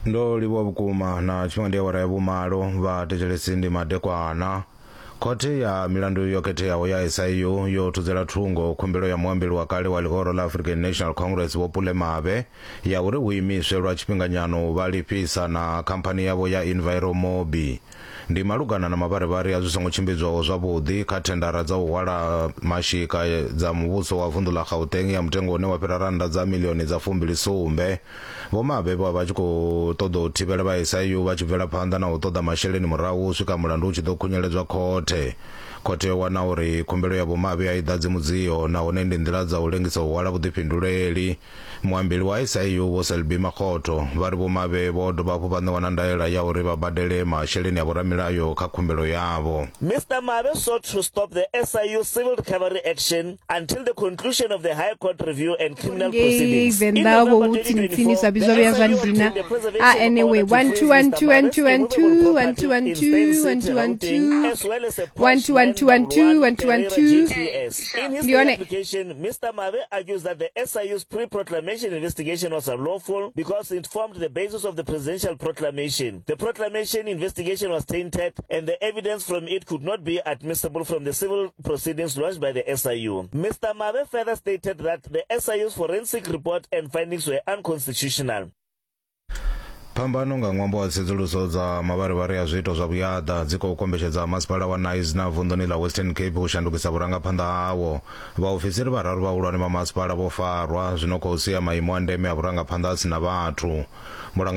Ndo livhuwa vhukuma na tshifhinga ndi awara ya vhumalo vha thetshelesi ndi madekwana. Khothe ya milandu yo khetheaho ya SIU yo thudzela thungo khumbelo ya muambeli wa kale wa ḽihoro ḽa African National Congress Vho Pule Mabe ya uri hu imiswe lwa tshifhinganyana u vha lifhisa na khamphani yavho ya Enviromobi. Ndi malugana na mavharivhari a zwi songo tshimbidzwaho zwavhuḓi kha thendara dza u hwala mashika dza muvhuso wa vunḓu ḽa Gauteng ya mutengo une wa fhira rannda dza miḽioni dza fumbili sumbe. Vho Mabe vho vha vha tshi khou ṱoḓa u thivhela vha SIU vha tshi bvela phanḓa na u ṱoḓa masheleni murahu u swika mulandu u tshi ḓo khunyeledzwa khothe. Khothe yo wana uri khumbelo ya Vho Mabe a i ḓadzi mudzio nahone ndi nḓila dza u lengisa u hwala vhuḓifhinduleli. Muambeli wa SIU Vho Selby Makgotho vha ri Vho Mabe vho dovha hafhu vha ṋewa na ndaela ya uri vha badele masheleni a vhoramilayo kha khumbelo yavho. Mister Mabe sought to stop the SIU civil recovery action until the conclusion of the High Court review and criminal ngei proceedings. In venḓa vho November hu tsini tsini 2024, zwa the vhidzwa vhuya zwa SIU ndina obtained a a preservation anyway order to 1 freeze 2 1 Mr. 2 1 Mabe's 2 1 immovable 2 1 property 2 1 in Steyn 2 1 City, 2 1 Gauteng, 2 as well as a 1 Porsche 2 1 2 1 2 911 1 2 1 Carrera 2 GTS. In his ndi yone application, Mr. Mabe argues that the SIU's pre-proclamation investigation was unlawful because it formed the basis of the presidential proclamation. The proclamation investigation was tainted and the evidence from it could not be admissible from the civil proceedings launched by the SIU. Mr. Mabe further stated that the SIU's forensic report and findings were unconstitutional. Phambano nga ṅwambo wa tsedzuluso dza mavharivhari a zwiito zwa vhuyaḓa dzi khou kombetshedza masipala wa Knysna vunḓuni ḽa Western Cape u shandukisa vhurangaphanḓa hawo. Vhaofisiri vhararu vhahulwane vha masipala vho farwa, zwi no khou sia maimo a ndeme a vhurangaphanḓa a si na vhathu. Mulanga.